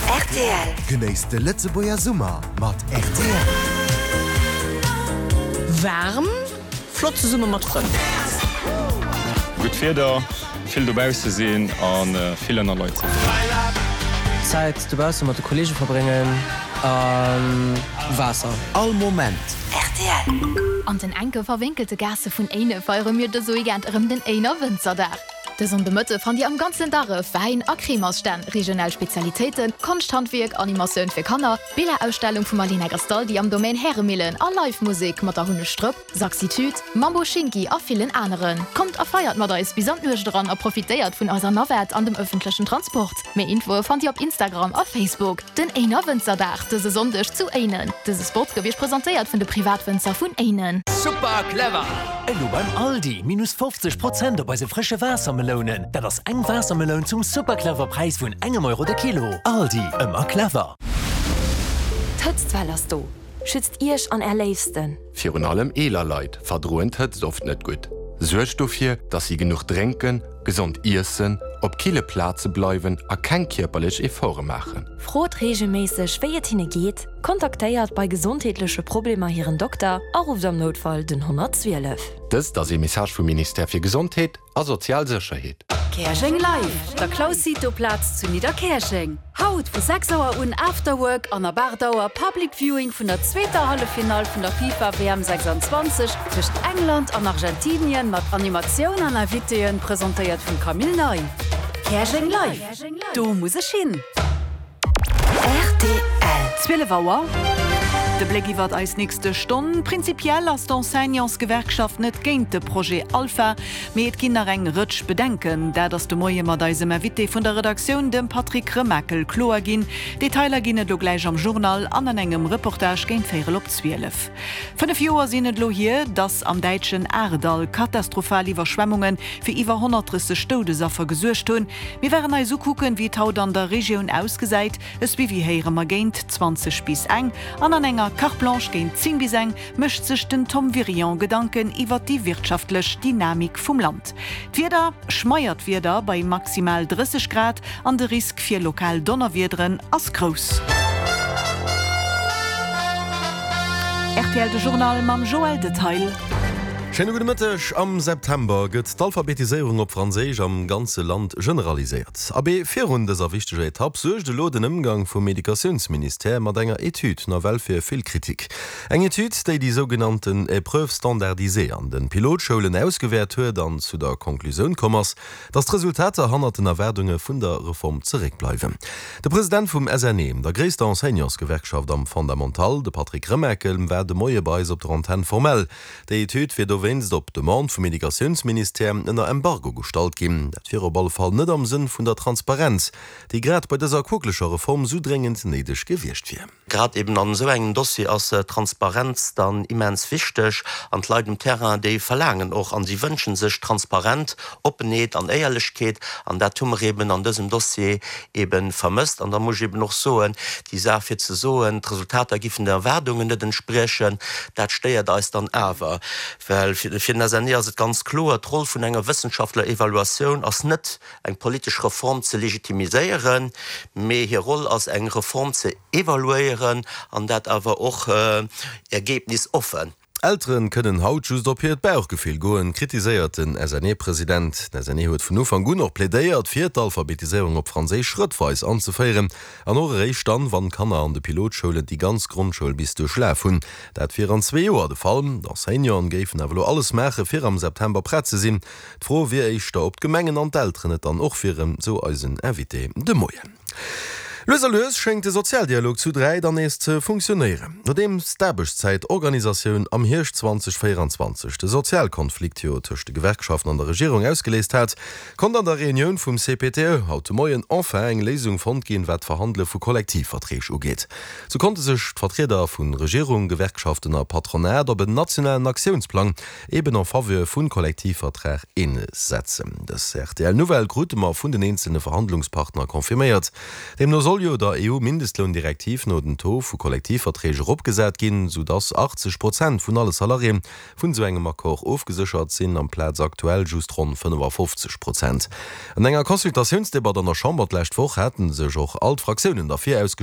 Rtl. Genéisst de Lëtzebuerger Summer mat rtl. Waarm, flott zesumme mat Frënn. Gutt Wieder, vill dobausse sinn a vill ënner Leit sinn. Zäit dobausse mat de Kollege verbréngen a Waasser. All Moment. Rtl. An den enke verwénkelte Gaasse vun Éine feiere mir dëse Weekend erëm den Éiner Wënzerdag. De Sonndemëtte fannt Dir am ganzen Darref Wäin a Cremersstänn, regional Spezialitéiten, Konschthandwierk, Animatioun fir Kanner, Billerausstellung vum Alina Gastaldi am Domaine Häremillen a Live Musek mat der Hunnesch Drëpp, Saxitude, Mambo Schinki a villen aneren. Kommt a feiert mat eis bis an d'Nuecht eran a profitéiert vun eiser Navette an dem ëffentlechen Transport. Méi Infoe fannt Dir op Instagram a Facebook. Den Éiner Wënzerdag dëse Sonndeg zu Éinen. Dëse Spot gouf Iech presentéiert vun de Privatwënzer vun Éinen. Super clever! Elo beim Aldi, minus 50 Prozent op eise frësche Waassermelounen. Dat ass eng Waassermeloun zum super clever Präis vun engem Euro de Kilo. Aldi, ëmmer clever! D'Hëtztwell ass do! Schützt Iech an Är Léifsten! Virun allem eeler Leit verdroen d'Hëtzt oft net gutt. Suergt dofir, dass si genuch drénken, gesond iessen, op kille Plaze bleiwen a keng kierperlech Efforte maachen. Frot reegelméisseg, wéi et hinne geet, kontaktéiert bei gesondheetleche Problemer hiren Dokter a rufft am Noutfall den 112. Dëst ass ee Message vum Ministère fir Gesondheet a sozial Sécherheet. Käerjeng Live! Der Claus Cito Plaz zu Nidderkäerjeng. Haut vu 6 Auer un Afterwork an ab 8 Auer Public Viewing vun der zweeter Halleffinall vun der FIFA WM 26 tëscht England an Argentinien mat Animatioun an Invitéen, presentéiert vum Camille Ney. Käerjeng Live! Do muss ech hin! Rtl. 12 Auer, De Bléck iwwert eis nächste Stonn. Prinzipiell ass d'Enseignantsgewerkschaft net géint de Projet Alpha, mee et ginn nach eng Rëtsch Bedenken. Dat ass de Moie mat eisem Invité vun der Redaktioun, dem Patrick Remakel, kloer ginn. Detailer ginn et lo gläich am Journal an an engem Reportage géint véierel op 12. 5 Joer sinn et lo hier, dass am däitschen Ahrweiler katastrophal Iwwerschwemmunge fir iwwer 130 Doudesaffer gesuergt hunn. Mir waren eis ukucken, wéi et haut an der Regioun ausgesäit. E Suivi héiere mer géint 20 bis eng. An an enger Carte Blanche géint 10 bis eng mécht sech den Tom Wirion Gedanken iwwert déi wirtschaftlech Dynamik vum Land. D'Wieder, Schmeiert Wieder bei maximal 30 Grad an de Risk fir lokal Donnerwiederen ass grouss. Rtl De Journal mam Joël Detail. Schéine gudde Mëtteg. Am September gëtt d'Alphabetiséierung op Franséisch am ganze Land generaliséiert. Abee, virun dëser wichteger Etapp suergt elo den Ëmgang vum Educatiounsministère mat enger Etüd nawell fir vill Kritik. Eng Etüd, déi déi sougenannten Épreuves standardisées an de Pilotschoulen ausgewäert huet an zu der Konklusioun komm ass, dass d'Resultater hannert den Erwaardunge vun der Reform zeréckbleiwen. De President vum SNE, der gréisster Enseignantsgewerkschaft am Fondamental, de Patrick Remakel, war de Moie bei eis op der Antenn formell. Déi Etüd wier dowéinst op Demande vum Educatiounsministère ënner Embargo gestallt ginn. Dat wier op alle Fall net am Sënn vun der Transparenz, déi grad bei dëser quokeleger Reform sou dréngend néideg gewiescht wier. Grad eben an esou engem Dossier ass Transparenz dann immens wichteg. An d'Leit um Terrain, déi verlaangen och an si wënsche sech Transparent, Oppenheet an Éierlechkeet. An dat hu mer eben an dësem Dossier eben vermësst. An da muss ech eben och soen, déi Saach fir ze soen, d'Resultater giffen den Erwaardungen net entspriechen, dat stéiert eis dann awer. Well fir den SNE ass et ganz kloer, d'Roll vun enger wëssenschaftler Evaluatioun ass net, eng politesch Reform ze legitimiséieren, mee hir Roll ass eng Reform ze evaluéieren an dat awer och ergebnisoffen. Elteren kënnen haut just op hiert Bauchgefill goen, kritiséiert den SNE-President. Den SNE huet vun Ufank un och plädéiert, fir d'Alphabetiséierung op Franséisch schrëttweis anzeféieren an och eréischt dann, wann d'Kanner an de Pilotschoulen déi ganz Grondschoul bis duerchlaf hunn. Dat wier an zwee Joer de Fall. D'Enseignanten géifen awer elo alles maachen, fir am September prett ze sinn. D'Fro wier éischter, ob d'Gemengen an d'Elteren et dann och wieren, sou eisen Invité de Moien. Lues a lues schéngt de Sozialdialog zu 3 dann nees ze funktionéieren. Nodeems d'Aarbechtszäitorganisatioun am Hierscht 2024 de Sozialkonflikt jo tëscht de Gewerkschaften an der Regierung ausgeléist hat, konnt an der Reunioun vum CPTE haut de Moien enfin eng Léisung fonnt ginn, wat d'Verhandele vu Kollektivverträg ugeet. Sou konnte sech d'Vertrieder vu Regierung, Gewerkschaften a Patronat op en nationalen Aktiounsplang eben en faveur vun Kollektivvertrag eensetzen. Dës RTL-Nouvelle krute mer vun den eenzelne Verhandlungspartner confirméiert. Deemno soll. soll jo der EU-Mindestloundirektiv no den Taux vu Kollektivverträg eropgesat ginn, sou dass 80 Prozent vun alle Salariéen vun esou engem Accord ofgeséchert sinn, amplaz aktuell just ronn 55 Prozent. An enger Consultatiounsdebatt an der Chamber d'lescht Woch hate sech och all d'Fraktiounen derfir ausgeschwat.